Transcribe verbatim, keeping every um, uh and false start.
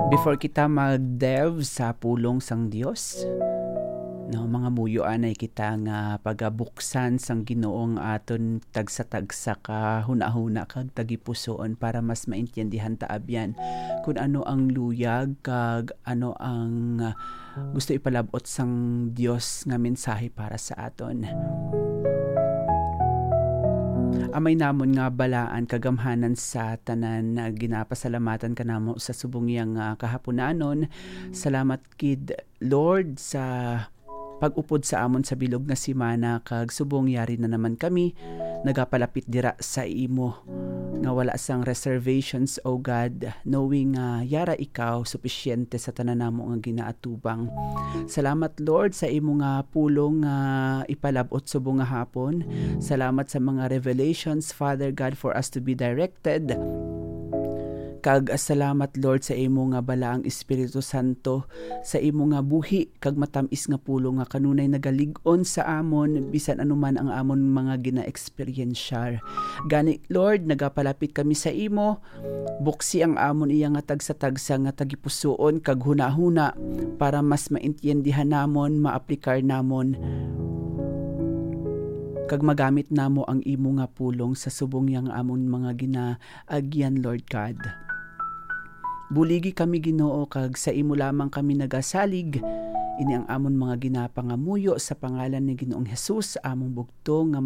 Before kita mag-delve sa pulong sang Dios, no, mangamuyo anay kita nga pagabuksan sang Ginoo ang aton tagsa-tagsa ka hunahuna kag tagipusoon para mas maintindihan ta abyan kung ano ang luyag kag ano ang, ah, gusto ipalab-ot sang Dios nga mensahe para sa aton. Amay namon nga balaan kagamhanan sa tanan, ah, ginapasalamatan ka namo sa subong yang, ah, kahapunanon. Salamat gid, Lord, sa pag-upod sa amon sa bilog nga semana, kag subong yari na naman kami nagapalapit dira sa imo nga wala sang reservations, O God, knowing nga yara ikaw supisyente sa tanan namo nga ginaatubang. Salamat, Lord, sa imo nga pulong nga ipalab-ot subong nga hapon. Salamat sa mga revelations, Father God, for us to be directed. Kag salamat, Lord, sa imo nga balaang Espiritu Santo, sa imo nga buhi kag matam-is nga pulong nga kanunay nagalig-on sa amon bisan ano man ang amon mga gina-eksperyensyar. Gani, Lord, nagapalapit kami sa imo. Buksi ang amon iya nga tagsa-tagsa nga tagipusoon kag hunahuna para mas maintindihan namon, maaplikar namon, kag magamit namo ang imo nga pulong sa subong yang amon mga ginaagyan, Lord God. Buligi kami, Ginoo, kag sa imo lamang kami nagasalig. Ini ang amon mga ginapangamuyo sa pangalan ni Ginoong Hesus, among bugtong nga